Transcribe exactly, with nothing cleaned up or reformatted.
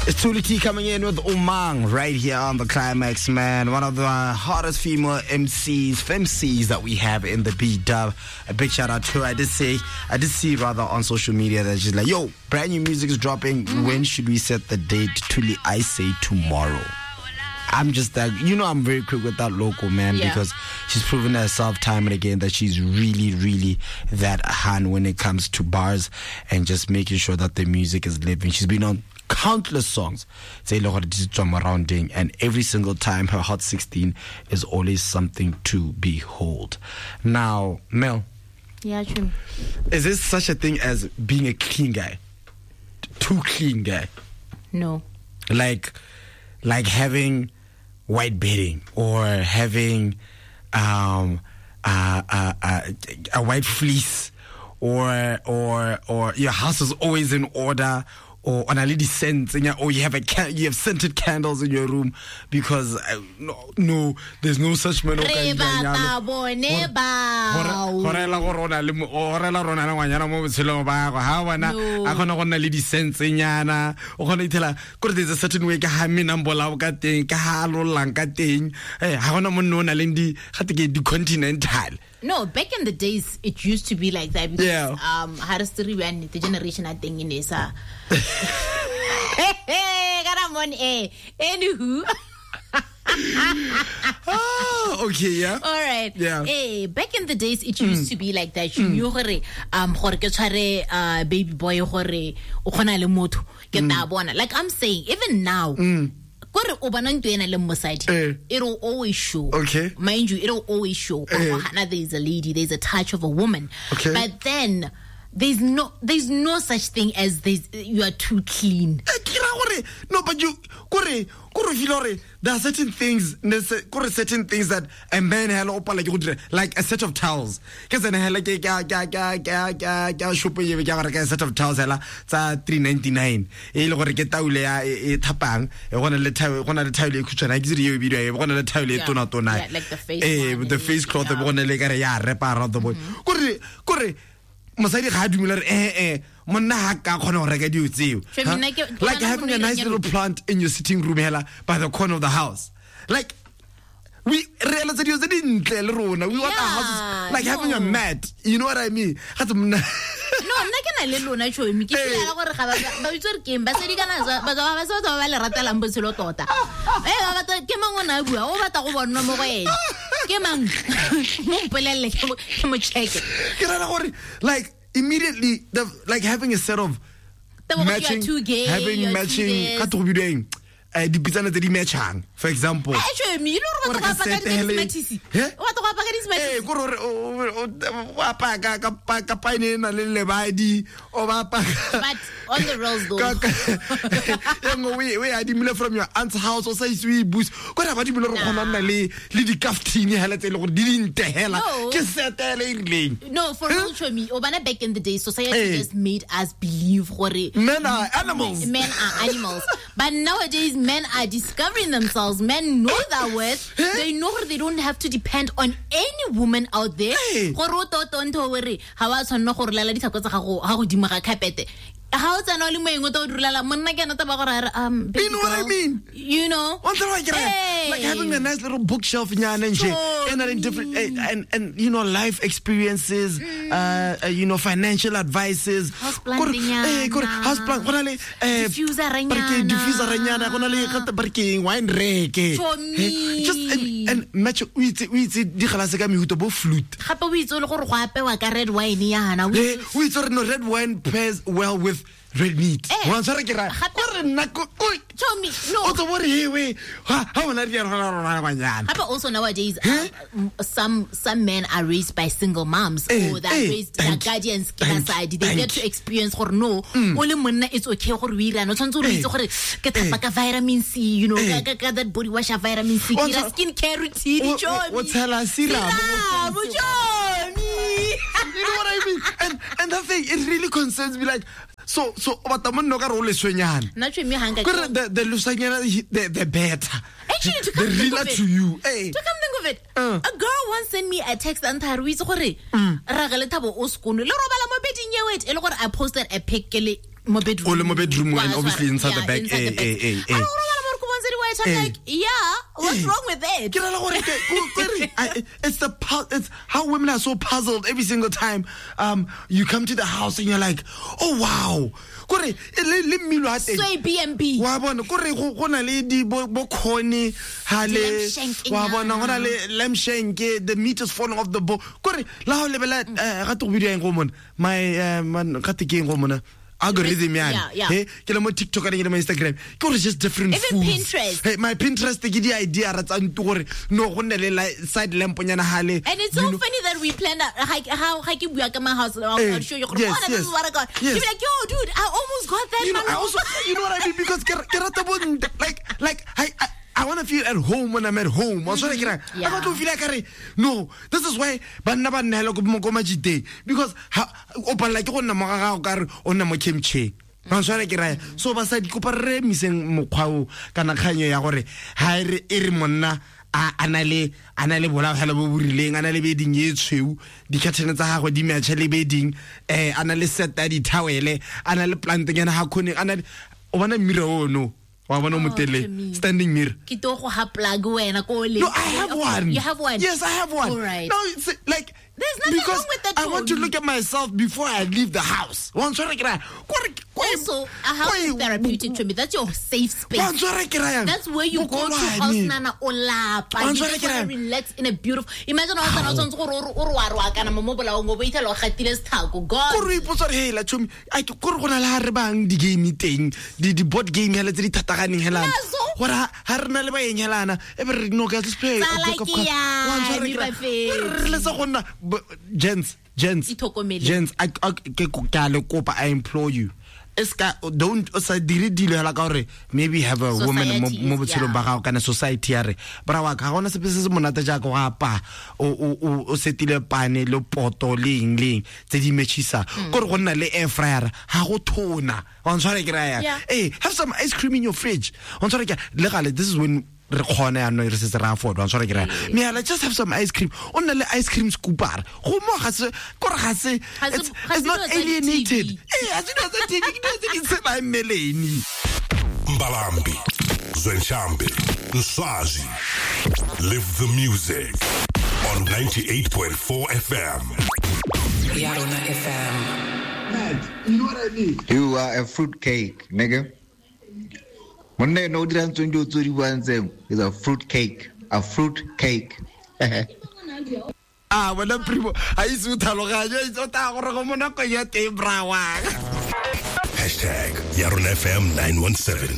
It's Thuli T coming in with Umang right here on The Climax, man. One of the hottest female M Cs, femcs that we have in the B-Dub. A big shout out to her. I did say, I did see rather on social media that she's like, yo, brand new music is dropping. Mm-hmm. When should we set the date? Thuli, I say tomorrow. I'm just that, you know, I'm very quick with that local, man, yeah. Because she's proven herself time and again that she's really, really that hand when it comes to bars and just making sure that the music is living. She's been on countless songs, and every single time her Hot sixteen is always something to behold. Now, Mel. Yeah, true. Is this such a thing as being a clean guy? Too clean guy? No. Like, like having white bedding or having um, uh, uh, uh, a white fleece, or or or your house is always in order, or on a lady scent, or you have a can- you have scented candles in your room, because uh, no, no, there's no such man. Re batla bone bao. Go rela gore o na le o rela rona le ngwanyana mo botshelong ba gago. Ha bona a kgona go nna le di-sense-nyana, o kgona ithela kore there's a certain way ka ha menang bolao ka teng, ka ha lollang ka teng. Eh, ha gona monna o na leng di gate ke di-continental. No, back in the days it used to be like that because yeah. um the generation I think in is uh hey, got on air. Anywho. Oh, okay, yeah. All right. Yeah. Hey, back in the days it used mm. to be like that. You knew gore um gore ke tshware uh baby boy gore o khona le motho ke ta bona. Like I'm saying, even now. Mm. Gore o bona ntwe ena le mosadi, it'll always show. Okay. Mind you, it'll always show. Eh. There's a lady, there's a touch of a woman. Okay. But then there's no there's no such thing as there's you are too clean. No, but you gore gore feel gore there are certain things, gore certain things that a man hela o pala ke go dira, like a set of towels. Ke tsene hela ke ka ka ka ka ka ka shop ye ke gore ka set of towels hela tsa three ninety-nine. E le gore ke taule ya e thapang, e gona le towel, gona le towel e khutshwana ke dire e bidiwa e gona le towel e tona tona. Yeah, like the face eh the face cloth e gona le ka re ya repa around the body. Gore gore mosadi ga a dumela re eh eh monna ha ka kgona go reka dilo tseo. Like having a nice little plant in your sitting room hela by the corner of the house. Like we realize dilo tse dintle le rona. We want our houses like having a mat. You know what I mean? Ga tse monna No, nna ke na le lona tšhomi. Ke feel gore ga ba ba itse gore keng basadi kana ba ba ba ba le ratelang botshelo tota. Eh ba batla ke mang o na bua o batla go bonwa mo go ene. Ke mang mo mpolelle ke mo check. Ke rata gore like immediately the like having a set of matching too gay, having matching ka to bidiweng eh dipitsana tse di matchang, for example. Eh tšhomi ile gore batho ba apara ka di-smarties. O batla go apara ka di-smarties. Eh gore o apara ka ka ka paine na le lebadi o ba apara. But on the rolls though. Yang we we adimile from your aunt's house o sa itse o e buse. Gore ba dimile re kgona nna le le di-kaftini hela tse le gore di dinte hela. Ke setele e rileng. No, for real tšhomi, o bana back in the day society just made us believe gore men are animals. Men are animals. But nowadays men are discovering themselves. Men know their worth. They know they don't have to depend on any woman out there. Gore o toto ntho hore ha wa tshwanna gore lala ditlhako tsa gago ha godimo ga carpet. Ha o tsena o le moeng o tlo direla monna ke ena taba gore um you know what I mean? You know? Hey. Like having a nice little bookshelf nyana nje and then different and and you know life experiences, mm. uh, uh you know financial advices. House plant eh gore house plant gona le eh diffuser nyana. Diffuser nyana gona le gata barkeng wine reke. Just and, and match o itse o itse di galase ka mehuto bo flute. Gape o itse le gore go apewa ka red wine yana. O itse gore no red wine pairs well with red meat. Wa tshwara ke ra gore nna ko Chomi no o tlo bore hewe ha ha bona di rona rona banyana. Gape also nowadays um, some some men are raised by single moms eh, or they're eh, raised their guardians ke basadi. They get to experience gore no o le monna it's okay gore o irana o tshwantse o itse gore ke thapa ka vitamin C, you know, ka ka that body wash vitamin C, ke ra skin care routine. Chomi o tshela serum Chomi. You know what I mean? And and that thing, it really concerns me. Like so so batla monna ka re o leswenyana. Nna tšhomi ha nka Gore the the leswenyana the the better. Actually, to come the think realer of it, to you. Hey. To come think of it, uh. a girl once sent me a text and a re itse gore Mm. ra ge Lethabo o sekono le robala mo beding ye wet e le gore I posted a pic ke le mo bedroom. O le mo bedroom and obviously inside yeah, the bag. Inside eh, the bag. eh, eh, eh. I'm like, yeah, what's eh. wrong with it? It's the it's how women are so puzzled every single time um you come to the house and you're like, oh wow. Kore le mmilo ha teng. Sway B and B. Wa bona kore go na le di bo khone ha le wa bona go na le lamb shank, the meat is falling off the bone. Kore la ho lebela ga te go bidiwa eng go mona. My man ga te ke eng go mona. Algorithm yeah, yeah. Hey, ke le mo TikTok and ke le mo Instagram. Ke gore just different even foods. Pinterest. Hey, my Pinterest ke di idea ra tsa ntu gore no go nne le side lamp nyana hale. And it's so funny that we planned out how how ke bua ka my house. I'll hey, show you. Yes, oh, yes. This is what I got. Yes. You'll be like, yo, dude, I almost got that. You know, I also, you know what I mean? Because ke rata bo like like I, I I want to feel at home when I'm at home. Mm-hmm. Yeah. I want to feel like, no, this is why banna ba nna go mo majite because o palla ke go nna mo ga gago ka re o nna mo kimchi. Ba tshwara ke raya. So basadi kopa re miseng mokgwa o kana kganyo ya gore ha re e re monna a ana le ana le bola hela bo burileng ana le beding e tshweu di-curtain tsa gagwe di match le beding eh ana le set ya di-towel ana le plant nyana ha khone ana o bona mirror ono. Wa bona motele standing mirror. Ke to go ha plug wena ko le. No, I have one. You have one. Yes, I have one. All right. No, it's like there's nothing because wrong with that. I want to look at myself before I leave the house. Also, a house is therapeutic to me. That's your safe space. That's where you go to house nana o lapa. You just want to relax in a beautiful. Imagine house nana o tshwanetse gore o re wa re wa kana mo mo bolaong o bo ithela o gatile sethako. God. Ko re ipotsa re hela chomi. Ai ko re gona le ha re bang di game teng, di di board game hela tse di thataganeng helana. Gore ha re na le baeng helana e be re no ka let's play. Re le sa gonna gents, gents, gents, I, I, I implore you. Eska don't sa dire dilo hela ka hore maybe have a woman mo botshelong ba gago kana society ya re bra wa ka gona sepe se se monate jaaka go apa o o o setile pane le poto le eng le eng tse di matchisa gore go nna le air fryer ha go thona wa ntshware ke raya eh have some ice cream in your fridge wa ntshware ke le gale this is when re khona ya no re se re afford wa ntshware ke raya me ala just have some ice cream o nna le ice cream scooper go mo ga se gore ga se it's not alienated eh a se dilo tsa T V ke dilo tse di tshelang mmeleni. Mbalambi Zwenshambi Nswazi, live the music on ninety-eight point four F M. Yarona F M. Man, you know what I mean? You are a fruit cake, nigga. Monna no dira ntsong di o tsori buang tseo is a fruit cake, a fruit cake. Ah, wena primo, ha itse o tlhaloganyo, itse o tla gore go mo nako ya teng bra wa. Hashtag Yarona F M nine one seven.